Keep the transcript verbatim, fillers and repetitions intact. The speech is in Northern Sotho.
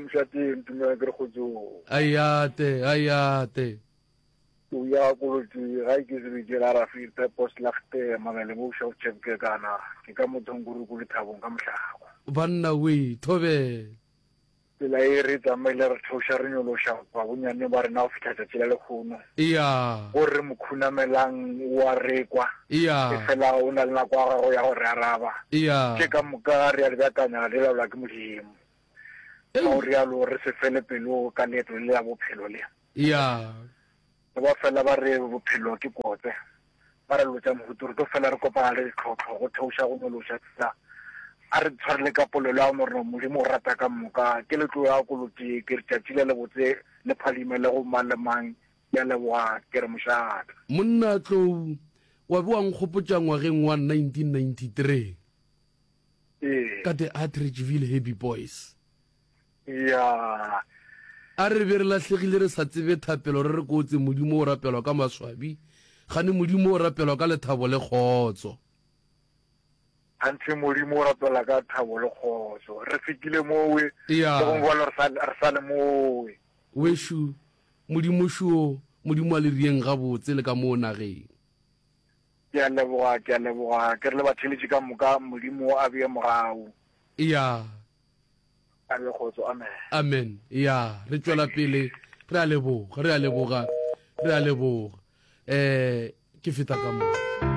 mošateng tumela ke re kgotsong. Ayate, ayate. O ya kolotse ga ke sebetse la rafi purpose lagte mabele bo sha chepke kana ke ka motsong kuruku le thabong ka mohlako. Banna we, thobela. Tsela e re tsamaile re theoša re nyološa ba bonyane ba rena go fihla tšatši la lekgono. Iya. Go re mokhunamelang wa rekwa. Iya. E fela o na le nako ya gago ya go re araba. Iya. Tše ka moka re a di beakanya di laolwa ke Modimo. Ka go rialo re se fele pelo ka leeto le la bophelo le. Iya. Ba fela ba re bophelo ke kotse. Ba re lotša mohutu re tlo fela re kopana le ditlhohlo go theoša go nyološa tsela. A re tshwarele ka polelo ya morena Modimo o rata ka moka. Ke le tlo ya kolotse ke re tšatši le lebotse le phadime le go mang le mang. Ke a leboga ke re mošate. Monna Tlou wa be wa nkgopotša ngwageng wa nineteen ninety-three. Ee. Ka the Atteridgeville Happy Boys. Ya. A re be re lahlegile re sa tsebe thapelo re re kotse Modimo o rapelwa ka maswabi, gane Modimo o rapelwa ka lethabo le kgotso. Gantši Modimo o rapela ka thabo le kgotso. Re fetile mowe, Ya. le gongwe bjalo re sa, re sa le mowe. Wešo, Modimo šo, Modimo a le rieng gabotse le ka moo nageng. Ke a leboga, ke a leboga. Ke re le batheeletši ka moka, Modimo a bee mogau. Ya. A be kgotso. Amen. Amen. Ya, re tšwela pele. Re a leboga, re a leboga, re a leboga. Eh, ke feta ka mo.